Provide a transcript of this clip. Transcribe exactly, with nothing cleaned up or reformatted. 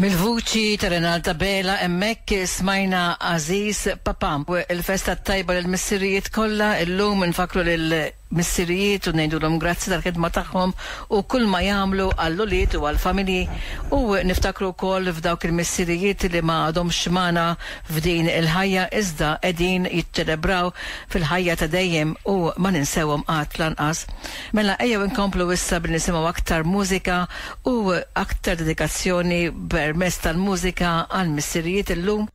Mill-vuċi ta' Renalta Bela hemmhekk smajna Għażiż Papà. Il-festa tajba lill-missirijiet kollha, illum nfakru lill-missirijiet u ngħidulhom grazzi tal-ħidma tagħhom u kull ma jagħmlu għall-ulied u għall-familji, u niftakru wkoll f'dawk il-missirijiet li ma għadhomx magħna f'din il-ħajja iżda qegħdin jiċċelebraw fil-ħajja ta' dejjem u ma ninsewhom qatt lanqas. Mela ejjew inkomplu issa billi nisimgħu aktar mużika u aktar dedikazzjoni permezz tal-mużika għall-missirijiet illum.